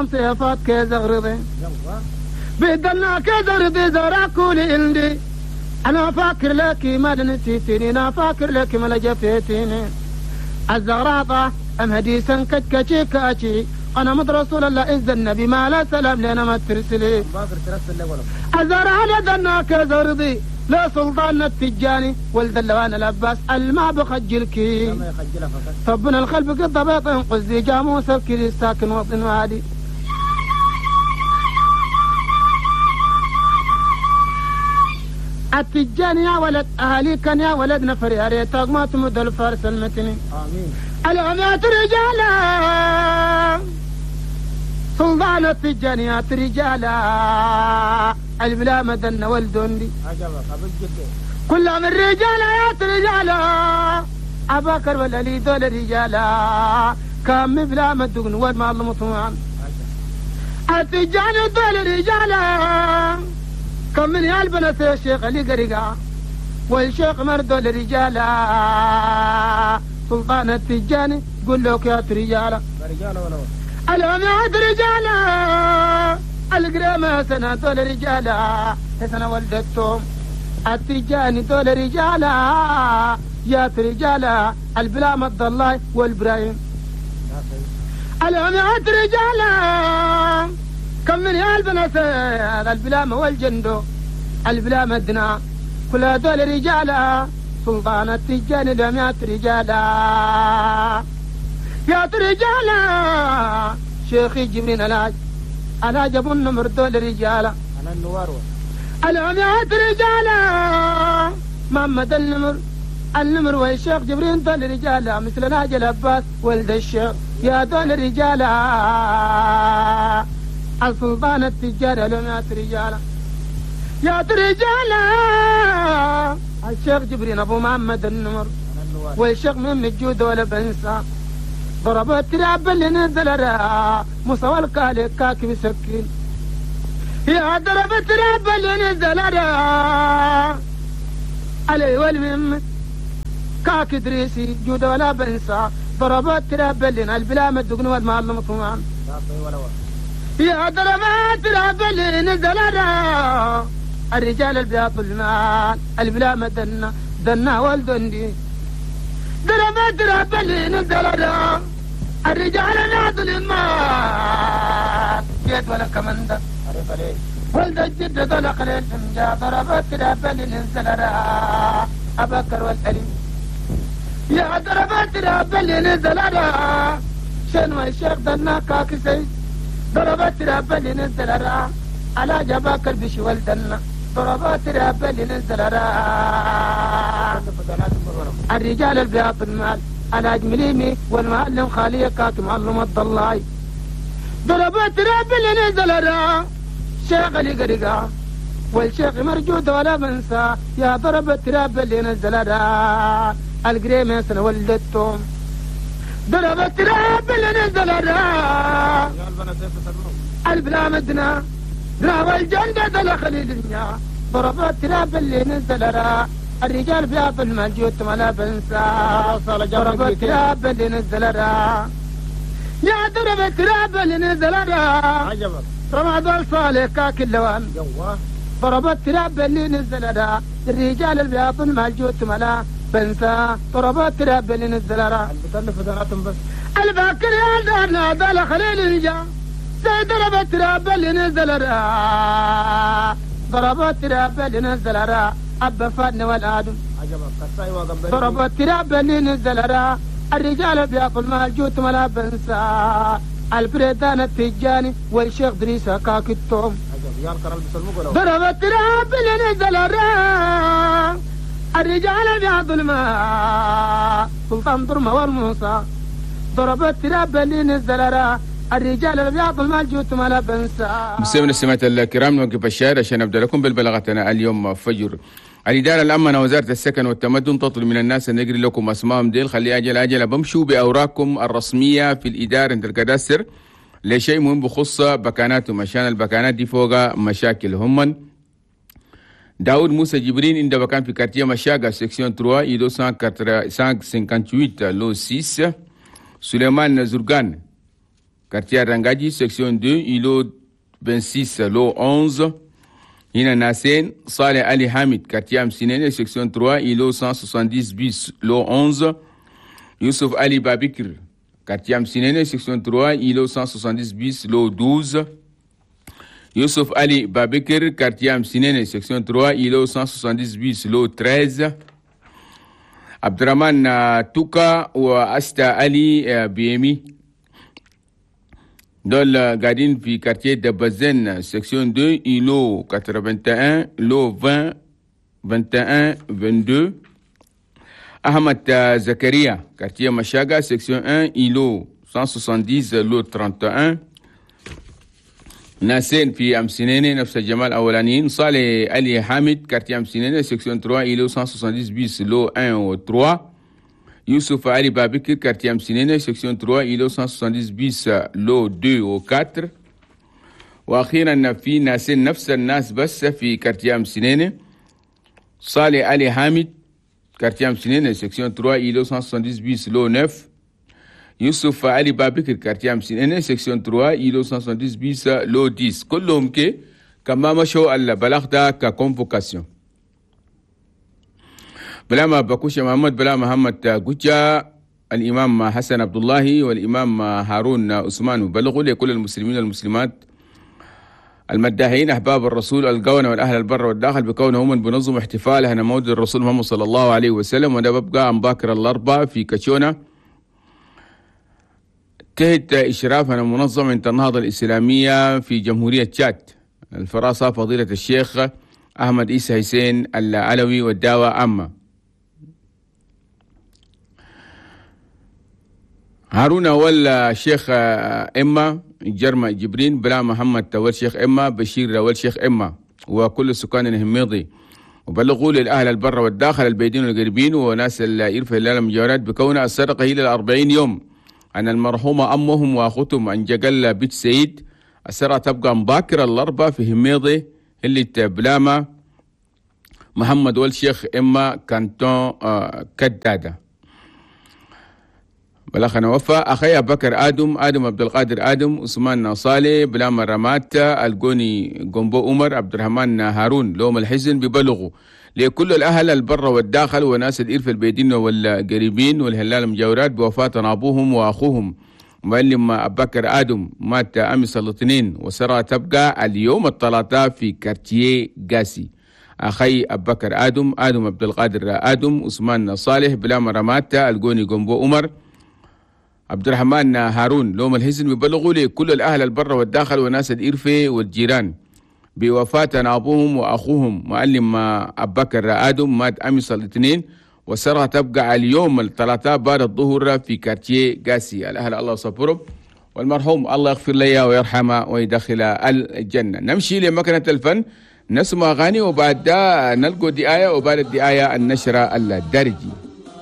سيفات كيزغرضي بدلنا كيزغرضي زراكولي عندي انا فاكر لك ما نسيتني انا فاكر لك ما لجفيتني الزغراطة ام هديسا كتكتي كاتي انا مد رسول الله إذ النبي ما لا سلام لنا ما ترسلي الزرع لدنا كيزغرضي لا سلطان التجاني ولد اللوان العباس الما بخجلك طبنا الخلف قد بيط قزي جاموس الكري ساكن وطن وادي التجاني يا ولد اهالي كان يا ولد نفر يا ريتك ما تمد الفارس المتني امين العمات رجالا سلطان التجانيات رجالا البلا مدن والدندي كل من رجالات رجالا أباكر ولا لي دول رجالا كم بلا مدقن والما المطوان التجاني دول رجالا كم من يالبنة الشيخ اللي قرقا والشيخ مردول رجالا سلطان التجاني قل لك يا رجالا العماد رجالا القرامة سنة دول رجالا سنة ولدتهم التجاني دول رجالا يا رجالا البلا مد الله والبرايم العماد رجالا كم من يالبنة البلامة والجندو البلامة دنا كل دول رجالا سلطان التجاني العماد رجالا يا رجالا شيخي جبرين العاج أنا جبن نمر دول رجالا أنا النوار العميات رجالا محمد النمر النمر والشيخ جبرين دول رجالا مثل ناجي العباس ولد الشيخ يا دول رجالا السلطان التجار العميات رجالا يا رجالا الشيخ جبرين أبو محمد النمر والشيخ من الجود ولا بنسى ضرب التراب اللي نزل را مصوى الكالي كاكي بسكين يا ضرب التراب اللي نزل را علي والمم كاك دريسي جود ولا بنسى ضرب التراب اللي البلا مدقن والمال مطمئن يا ضرب التراب اللي نزل را الرجال البياض المال البلا مدنا دنا والدندي ضرب التراب اللي نزل را الرجال ناضل المال جيت ولا كمندة ولد الجد طلق للفنجا ضرب التراب اللي نزل را أبكر والألي يا ضرب التراب اللي نزل را شنو الشيخ دنا كاكسي ضرب التراب اللي نزل را على جباكر بشي ولدنا ضرب التراب اللي نزل را الرجال البياض المال على جمليمي والمعلم خالية كاك معلم الضلاي ضربت رب اللي نزل را شيخ اللي قرقا والشيخ مرجود ولا بنسى يا ضربت رب اللي نزل را القريمة سنة ولدتهم ضربت رب اللي نزل را البلا مدنا را والجندة دل خليل ضربت رب اللي نزل را الرجال بياض المال ولا بنسى ضرب التراب اللي نزل را يا ضرب التراب اللي نزل را رمضان صالح كاك اللوان ضرب التراب اللي نزل را الرجال البياض المال ولا بنسى ضرب التراب اللي نزل را الباكر يا دارنا دال خليل الجا ضرب التراب اللي نزل را ضرب التراب اللي نزل را أبا فادنا والآدم ضرب التراب اللي نزل را الرجال بياض المال جوت ولا بنسى البريدان التجاني والشيخ دريسة كاك التوم ضرب التراب اللي نزل را الرجال بياض المال سلطان درمة والموسى ضرب التراب اللي نزل را الرجال الابيض المال جوت ولا بنسى. مستمعينا السماعة الكرام، نوقف الشارع عشان نبدا لكم بالبلاغتنا اليوم فجر. الإدارة الأمنة وزارة السكن والتمدن تطلب من الناس أن يقري لكم أسمائهم ديل، خلي أجل أجل بمشوا بأوراقكم الرسمية في الإدارة عند الكادستر لشيء مهم بخص بكاناتهم، عشان البكانات دي فوق مشاكل. هم داود موسى جبرين عند بكان في quartier مشاقة section 3 إيدو 158 lot 6. سليمان زرقان quartier رنجاجي section 2 îlot 26 lot 11. هنا ناسين صالح علي حامد quartier أمسينيني section 3 îlot 170 bis lot 11. يوسف علي بابكر quartier أمسينيني section 3 îlot 170 bis lot 12. يوسف علي بابكر quartier أمسينيني section 3 îlot 170 bis lot 13. عبد الرحمن توكا وأستا علي بيمي دول قاعدين في quartier دبزن section 2 îlot 81 lot 20 21 22. أحمد زكريا quartier مشاغا section 1 îlot 170 lot 31. ناسين في أمسينيني نفس الجمال الأولانيين صالح علي حامد quartier أمسينيني section 3 îlot 170 bis lot 1 و 3. يوسف علي بابكر quartier أمسينيني section 3 îlot 170 bis lot 2 و 4. وأخيرا في ناسين نفس الناس بس في quartier أمسينيني صالح علي حامد quartier أمسينيني section 3 îlot 170 bis lot 9. يوسف علي بابكر quartier أمسينيني section 3 îlot 170 bis lot 10. كلهم كي كما مشوا البلاغ ده ك convocation. بلاما بكوشة محمد بلا محمد جوجا الإمام حسن عبد الله والإمام هارون عثمان بلغوا لكل المسلمين والمسلمات المداحين أحباب الرسول القونة والأهل البر والداخل بكونهم من بنظم احتفال هنا مولد الرسول محمد صلى الله عليه وسلم، وده ببقى عن باكر الأربعاء في كاتشونا تحت إشرافنا منظمة النهضة الإسلامية في جمهورية تشاد الفراسة فضيلة الشيخ أحمد إيسى حسين العلوي والدعوة عامة. هارون أول شيخ إما جرمى جبرين بلا محمد أول شيخ إما بشير أول شيخ إما وكل سكان الهميضي، وبلغوا للأهل البر والداخل البيدين والقريبين وناس الإرفة المجاورات بكون السرقة إلى 40 يوم أن المرحومة أمهم وأخوتهم أن جقل بيت سعيد. السرقة تبقى مباكرة الأربعة في هميضي اللي تبلاما محمد والشيخ إما كانتون كدادة. بلغنا وفا أخي بكر آدم آدم عبد القادر آدم عثمان صالح بلاما رمات الجوني جومبو عمر عبد الرحمن هارون لوم الحزن ببلغوا لكل الأهل البر والداخل وناس الإرف البيدين والقريبين والهلال المجاورات بوفاة أبوهم وأخوهم معلم أبكر آدم مات أمس الاثنين وسرى تبقى اليوم الثلاثاء في كارتيه قاسي. أخي أبكر آدم آدم عبد القادر آدم عثمان صالح بلاما رمات الجوني جومبو عمر عبد الرحمن هارون لوم الحزن ببلغوا لكل الأهل البر والداخل وناس الإرفة والجيران بوفاة أبوهم وأخوهم معلم أبكر آدم مات أمس الاثنين وسرى تبقى اليوم الثلاثاء بعد الظهر في كارتيه قاسي. الأهل الله صبرهم والمرحوم الله يغفر لي ويرحمه ويدخل الجنة. نمشي لمكنة الفن نسمع أغاني وبعد ده نلقوا دعاية وبعد الدعاية النشرة الدارجي.